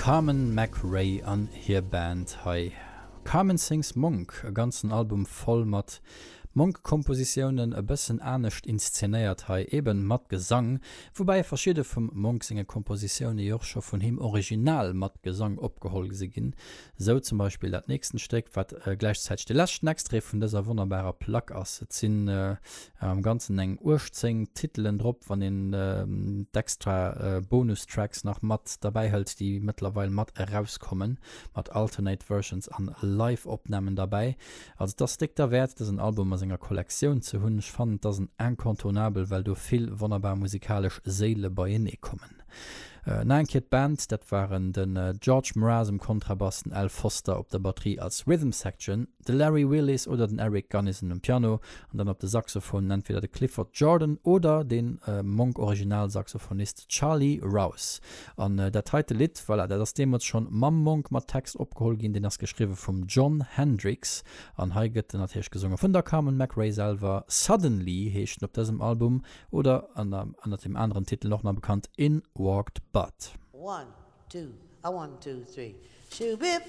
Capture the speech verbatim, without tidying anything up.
Carmen McRae an hir Band hei. Carmen Sings Monk, e ganzen Album voll mat Monk-Kompositiounen, e bëssen anescht inszenéiert hei, eben mat Gesang, woubäi verschidde vum Monk senge Kompositioune jo och scho vun him original mat Gesang opgeholl si ginn, sou zum Beispill dat nächsten Stéck, wat gläichzäiteg de leschten Extrait vun dëser wonnerbarer Plack ass. Et sinn am Ganzen eng uechtzéng Titelen drop, wann een d'extra Bonustracks nach mat derbäi hëlt, déi mëttlerweil mat erauskommen, mat Alternate Versions an Live-Opnamen derbäi. Also et ass déck derwäert, dësen Album a senger Kollektioun ze hunn. Ech fannen, et ass en Incontournable, well do vill wonnerbar musikalesch Séile beienee kommen. Nach eng Kéier d'Band, dat waren den George Mraz um Kontrabass, den Al Foster op der Batterie als Rhythm Section, de Larry Willis oder den Eric Gunnison um Piano an dann op de Saxophonen entweder de Clifford Jordan oder de Monk-Original-Saxophonist Charlie Rouse. An dat heite Lidd, voilà, dat ass deemools schonn mam Monk mat Text opgeholl ginn, deen ass geschriwwe vum Jon Hendricks an hei gëtt en natierlech gesonge vun der Carmen McRae selwer. Suddenly heescht en op dësem Album oder ënnert deem aneren Titel och nach bekannt In Walked Bud. One, two, a one, two, three, shoo-bip.